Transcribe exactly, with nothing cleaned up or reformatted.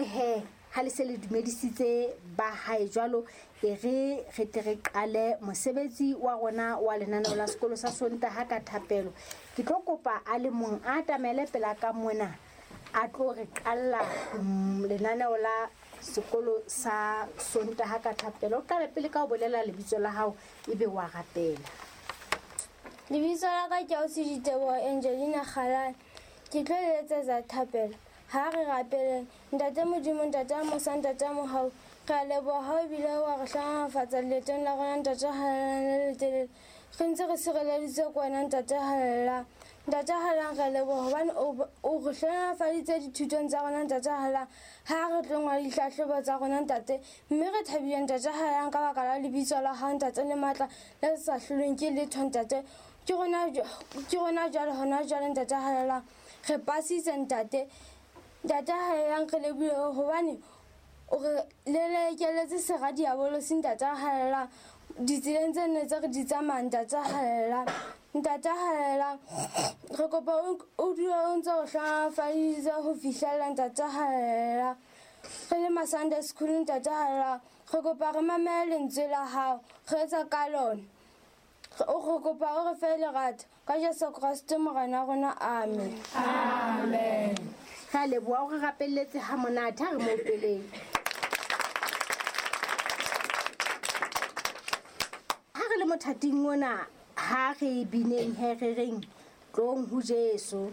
he ha le se le dumedisitse ba hae jwalo e re re tle re qale mosebetsi wa rona wa lenaneo la sekolo sa Sontaha ka thapelo. Ke tlo kopa a le mong a atamele pela ka mona a tlo re qalla lenaneo la sekolo sa Sontaha ka thapelo. O qale pele ka ho bolela lebitso la hao ebe wa rapela. Lebitso la ka ke Ausi Diteboho Angelina Kgalane. Ke tlo le etsetsa thapelo. Ha re rapeleng. Ntate Modimo, Ntate a mosa, Ntate a mohau, re a leboha ha o bile wa re hlohonolofatsa leetong la rona, Ntate a halalelang le letelele. Re ntse re sireleditswe ke wena, Ntate a halalelang. Ntate a halalelang, re a leboha hobane o o re hlohonolofaditse dithutong tsa rona, Ntate a halalelang. Ha re tlo ngola dihlahlobo tsa rona, Ntate, mme re thabile, Ntate a halalelang, ka baka la lebitso la hao, Ntate, le matla le sa hlolweng ke letho, Ntate. Ke rona ke rona jwale hona jwale, Ntate a halalelang, re pasitse, Ntate. Ntate a halalelang, re lebohile hobane o re lelekeletse sera diabolosi, Ntate a halalelang, ditseleng tse nne tse re di tsamayang, Ntate a halalelang. Ntate a halalelang, re kopa o dule o ntse o hlohonolofaditse ho fihlella, Ntate a halalelang. Re le ma Sunday school, Ntate a halalelang, re kopa re mamele lentswe la hao, re etsa ka lona. O re kopa o re fe lerato ka Jesu Kreste Morena rona, amen. Amen. Re a leboha o re rapelletse ha monate, ha re mo opeleng. Ha re le mothating ona, ha re bineng he re reng tlong ho Jesu.